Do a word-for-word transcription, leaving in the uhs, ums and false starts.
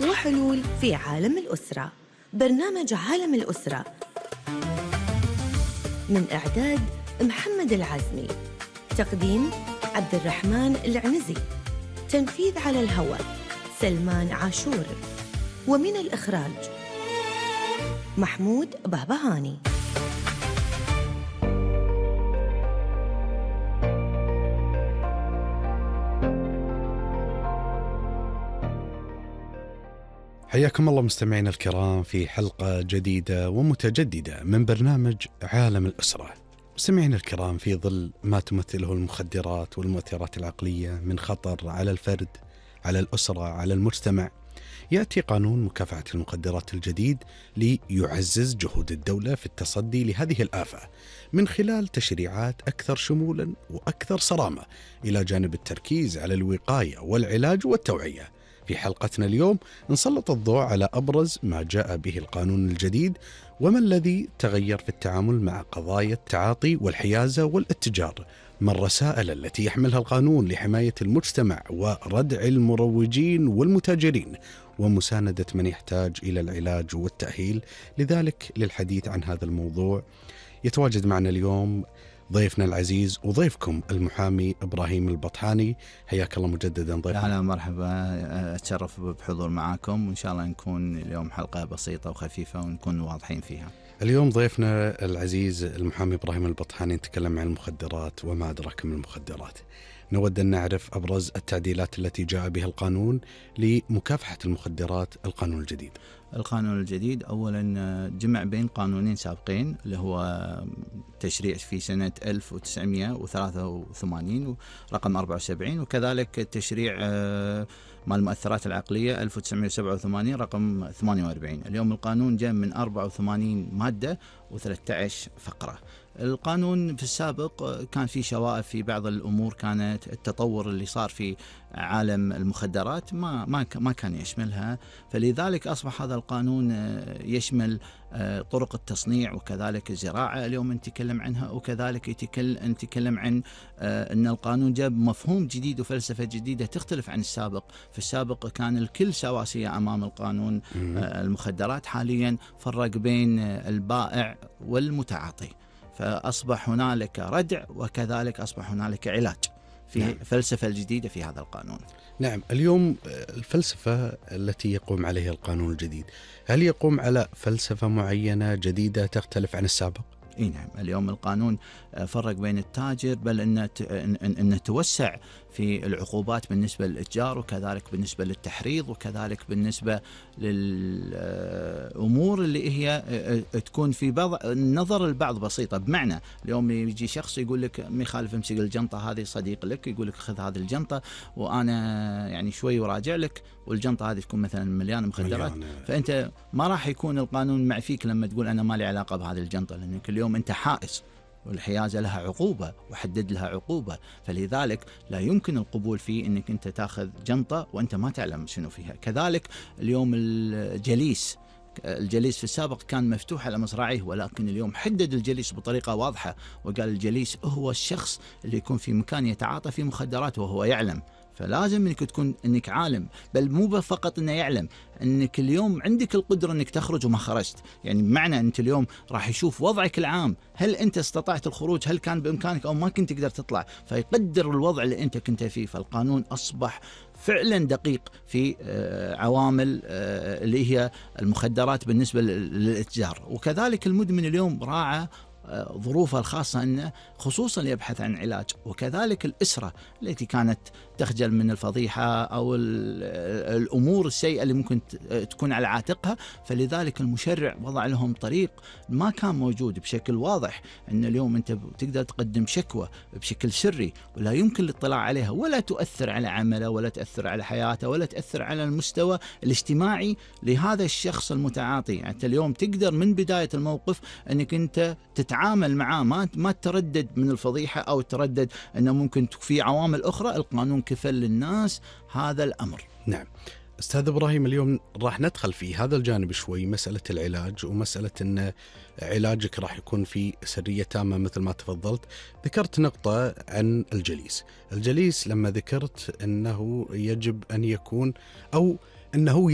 وحلول في عالم الأسرة. برنامج عالم الأسرة من إعداد محمد العزمي، تقديم عبد الرحمن العنزي، تنفيذ على الهواء سلمان عاشور، ومن الإخراج محمود بهبهاني. حياكم الله مستمعينا الكرام في حلقة جديدة ومتجددة من برنامج عالم الأسرة. مستمعينا الكرام، في ظل ما تمثله المخدرات والمؤثرات العقلية من خطر على الفرد، على الأسرة، على المجتمع، يأتي قانون مكافحة المخدرات الجديد ليعزز جهود الدولة في التصدي لهذه الآفة من خلال تشريعات أكثر شمولا وأكثر صرامة، إلى جانب التركيز على الوقاية والعلاج والتوعية. في حلقتنا اليوم نسلط الضوء على أبرز ما جاء به القانون الجديد، وما الذي تغير في التعامل مع قضايا التعاطي والحيازة والاتجار، ما الرسائل التي يحملها القانون لحماية المجتمع وردع المروجين والمتاجرين ومساندة من يحتاج إلى العلاج والتأهيل. لذلك للحديث عن هذا الموضوع يتواجد معنا اليوم ضيفنا العزيز وضيفكم المحامي إبراهيم البطحاني. حياك الله مجددا ضيفنا. أهلا مرحبا، أتشرف بحضور معاكم، وإن شاء الله نكون اليوم حلقة بسيطة وخفيفة ونكون واضحين فيها. اليوم ضيفنا العزيز المحامي إبراهيم البطحاني نتكلم عن المخدرات وما أدراك من المخدرات. نود أن نعرف أبرز التعديلات التي جاء بها القانون لمكافحة المخدرات، القانون الجديد. القانون الجديد أولا جمع بين قانونين سابقين، اللي هو تشريع في سنة ألف وتسعمائة وثلاثة وثمانين رقم أربعة وسبعين، وكذلك تشريع مال المؤثرات العقلية ألف وتسعمائة وسبعة وثمانين رقم ثمانية وأربعين. اليوم القانون جاء من أربعة وثمانين مادة وثلاثة عشر فقرة. القانون في السابق كان في شوائب في بعض الأمور، كانت التطور اللي صار في عالم المخدرات ما ما ما كان يشملها، فلذلك أصبح هذا القانون يشمل طرق التصنيع وكذلك الزراعة اليوم نتكلم عنها، وكذلك يتكلم نتكلم عن أن القانون جاب مفهوم جديد وفلسفة جديدة تختلف عن السابق. في السابق كان الكل سواسية أمام القانون المخدرات، حاليا فرق بين البائع والمتعاطي، فأصبح هنالك ردع وكذلك أصبح هنالك علاج في نعم. فلسفة الجديدة في هذا القانون. نعم، اليوم الفلسفة التي يقوم عليها القانون الجديد، هل يقوم على فلسفة معينة جديدة تختلف عن السابق؟ إيه نعم، اليوم القانون فرق بين التاجر، بل أنه إن توسع في العقوبات بالنسبة للإتجار، وكذلك بالنسبة للتحريض، وكذلك بالنسبة للأمور اللي هي تكون في بعض النظر البعض بسيطة. بمعنى اليوم يجي شخص يقول لك ما يخالف امسك الجنطة هذه، صديق لك يقول لك خذ هذه الجنطة وأنا يعني شوي وراجع لك، والجنطة هذه تكون مثلا مليانة مخدرات، فأنت ما راح يكون القانون مع فيك لما تقول أنا ما لي علاقة بهذه الجنطة، لأنك اليوم أنت حائز، والحيازة لها عقوبة وحدد لها عقوبة، فلذلك لا يمكن القبول فيه أنك أنت تأخذ جنطة وأنت ما تعلم شنو فيها. كذلك اليوم الجليس، الجليس في السابق كان مفتوح على مصراعيه، ولكن اليوم حدد الجليس بطريقة واضحة، وقال الجليس هو الشخص اللي يكون في مكان يتعاطى في مخدرات وهو يعلم. فلازم انك تكون انك عالم، بل مو فقط انه يعلم، انك اليوم عندك القدره انك تخرج وما خرجت، يعني بمعنى انت اليوم راح يشوف وضعك العام، هل انت استطعت الخروج، هل كان بامكانك او ما كنت تقدر تطلع، فيقدر الوضع اللي انت كنت فيه. فالقانون اصبح فعلا دقيق في عوامل اللي هي المخدرات بالنسبه للاتجار، وكذلك المدمن اليوم راعى ظروفها الخاصة أنه خصوصا يبحث عن علاج، وكذلك الأسرة التي كانت تخجل من الفضيحة أو الأمور السيئة اللي ممكن تكون على عاتقها، فلذلك المشرع وضع لهم طريق ما كان موجود بشكل واضح، أن اليوم أنت تقدر تقدم شكوى بشكل سري ولا يمكن الاطلاع عليها، ولا تؤثر على عمله ولا تأثر على حياته ولا تأثر على المستوى الاجتماعي لهذا الشخص المتعاطي. يعني أنت اليوم تقدر من بداية الموقف أنك أنت تتعامل معاه، ما ما تردد من الفضيحة أو تردد أنه ممكن في عوامل أخرى. القانون كفل للناس هذا الأمر. نعم أستاذ إبراهيم، اليوم راح ندخل في هذا الجانب شوي، مسألة العلاج ومسألة أن علاجك راح يكون في سرية تامة مثل ما تفضلت. ذكرت نقطة عن الجليس. الجليس لما ذكرت أنه يجب أن يكون أو أنه